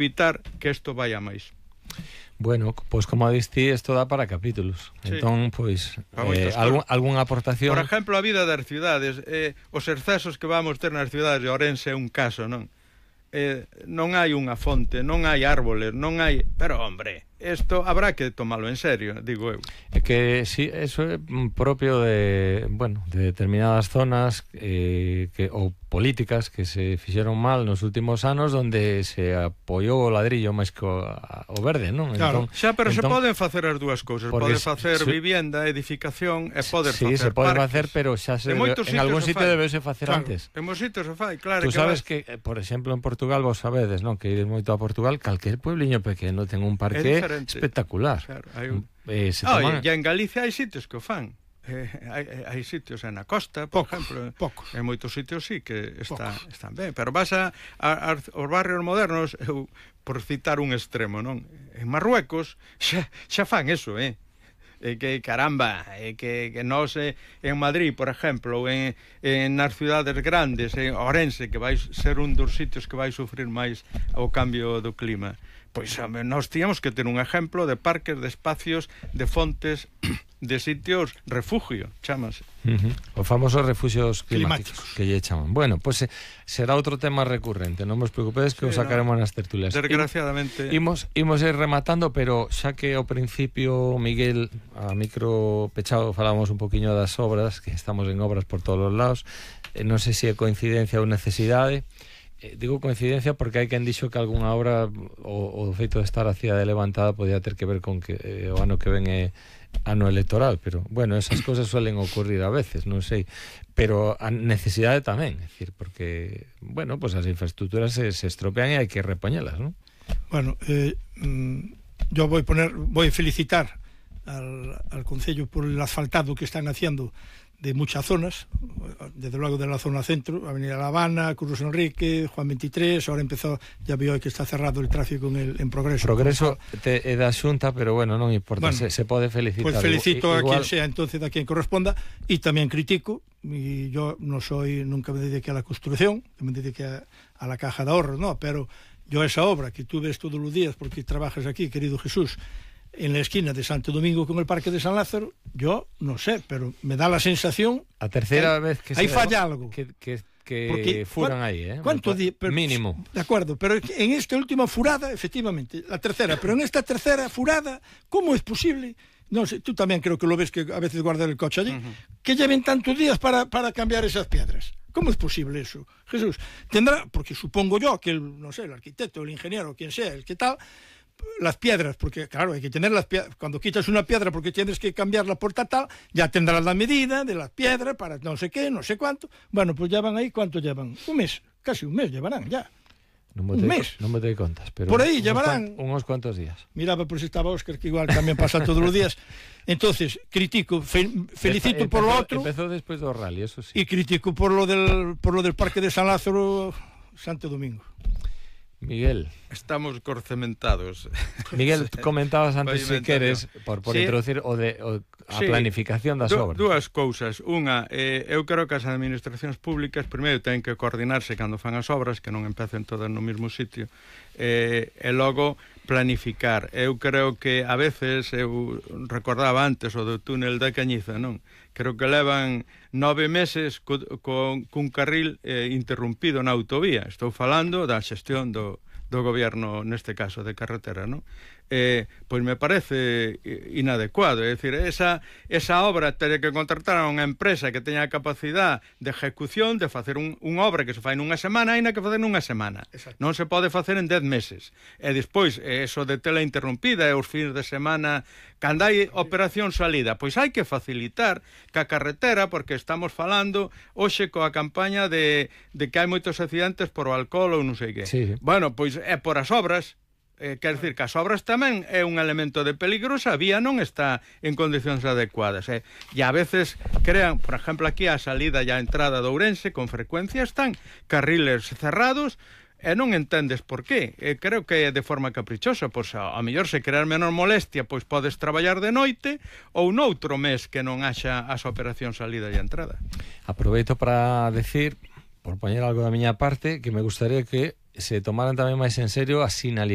evitar que isto vaya máis. Bueno, pois como diste, isto dá para capítulos. Sí. Entón, pois, algunha aportación... Por exemplo, a vida das cidades, os excesos que vamos ter nas cidades de Ourense é un caso, non? Non hai unha fonte, non hai árboles, non hai... Pero, hombre, isto habrá que tomarlo en serio, digo eu. É que sí, eso é propio de, bueno, de determinadas zonas ou políticas que se fixeron mal nos últimos anos, onde se apoiou o ladrillo máis que o verde, non? Claro, entón, pero se poden facer as dúas cousas, pode facer vivienda, edificación e poder facer se pode parques. facer, pero xa en algún sitio debese facer antes. En moitos sitios se fai, claro. Tú sabes que, por exemplo, en Portugal, vos sabedes, non? Que ides moito a Portugal, calquer puebliño pequeno ten un parque espectacular. Claro, e en Galicia hai sitios que o fan. Hai sitios na costa, por exemplo, en moitos sitios sí que están ben, pero vas aos barrios modernos, por citar un extremo, non? En Marruecos xa fan eso, que caramba, que nós en Madrid, por exemplo, en nas cidades grandes, en Ourense, que vai ser un dos sitios que vai sufrir máis o cambio do clima, pois nós tíamos que ter un exemplo de parques, de espacios, de fontes, de sitios refugio, chamase. Os famosos refugios climáticos que lle chaman. Bueno, pois será outro tema recurrente, non vos preocupedes que o sacaremos nas tertulias. Desgraciadamente. Imos ir rematando, pero xa que ao principio, Miguel, a micro pechado, falábamos un poquinho das obras, que estamos en obras por todos os lados, non sei se é coincidencia ou necesidade. Digo coincidencia porque hai quen dixo que algunha obra o feito de estar a cidade levantada podía ter que ver con que o ano que ven é ano electoral, pero bueno, esas cousas suelen ocurrir a veces, non sei, pero a necesidade tamén, é dicir, porque bueno, pues as infraestructuras se estropean e hai que repoñelas, ¿no? Bueno, yo voy a felicitar al Concello por el asfaltado que están haciendo de muchas zonas, desde luego de la zona centro, Avenida La Habana, Cruz Enrique, Juan 23, ahora empezó, ya veo que está cerrado el tráfico en Progreso. Progreso é da Xunta, pero bueno, non importa, bueno, se pode felicitar. Pues felicito a quien sea, entonces, a quien corresponda, y también critico, y yo nunca me dediqué a la construcción, me dediqué a la caja de ahorros, no, pero yo esa obra que tú ves todos los días, porque trabajas aquí, querido Jesús, en la esquina de Santo Domingo con el Parque de San Lázaro, yo no sé, pero me da la sensación a tercera vez que ahí falla algo que furan ahí, ¿cuánto mínimo? De acuerdo, pero en esta última furada, efectivamente, la tercera, pero en esta tercera furada, ¿cómo es posible? No sé, tú también creo que lo ves, que a veces guardan el coche allí, que lleven tantos días para cambiar esas piedras. ¿Cómo es posible eso? Jesús, tendrá, porque supongo yo que el arquitecto, el ingeniero, quien sea, el que tal, las piedras, porque claro, hay que tener las piedras, cuando quitas una piedra porque tienes que cambiarla por tal, ya tendrás la medida de las piedras para no sé qué, no sé cuánto. Bueno, pues ya van ahí, ¿cuánto llevan? Un mes, casi un mes llevarán ya. Un mes. Non me te contas, pero por aí llevarán unos cuantos días. Miraba por si estaba Óscar, que igual también pasa todos los días. Entonces, critico, felicito por lo otro. Empezó después do rally, eso sí. Y critico por lo del Parque de San Lázaro, Santo Domingo. Miguel, estamos corcementados. Miguel, comentabas antes, se queres, por sí, introducir a planificación das obras. Dúas cousas. Unha, eu creo que as administracións públicas primeiro ten que coordinarse cando fan as obras, que non empecen todas no mesmo sitio, e logo planificar. Eu creo que a veces, eu recordaba antes o do túnel da Cañiza, non? Creo que levan 9 meses cun carril interrumpido na autovía. Estou falando da xestión do goberno, neste caso, de carretera, non? Pois me parece inadecuado, é dicir, esa obra teria que contratar a unha empresa que teña a capacidade de ejecución de facer unha obra que se fai nunha semana, aínda que facer nunha semana. Exacto. Non se pode facer en 10 meses. E despois, eso de tela interrumpida e os fins de semana, cando hai operación salida, pois hai que facilitar que a carretera, porque estamos falando hoxe coa campaña de que hai moitos accidentes por o alcohol ou non sei que. Sí. Bueno, pois é por as obras. Quer dizer que as obras tamén é un elemento de peligro se a vía non está en condicións adecuadas. E a veces crean, por exemplo, aquí a salida e a entrada de Ourense, con frecuencia están carriles cerrados e non entendes por qué. Creo que é de forma caprichosa, pois a mellor se crear menor molestia, pois podes traballar de noite ou noutro mes que non haxa as operacións salida e entrada. Aproveito para decir, por poñer algo da miña parte, que me gustaría que se tomaran tamén máis en serio a sinalización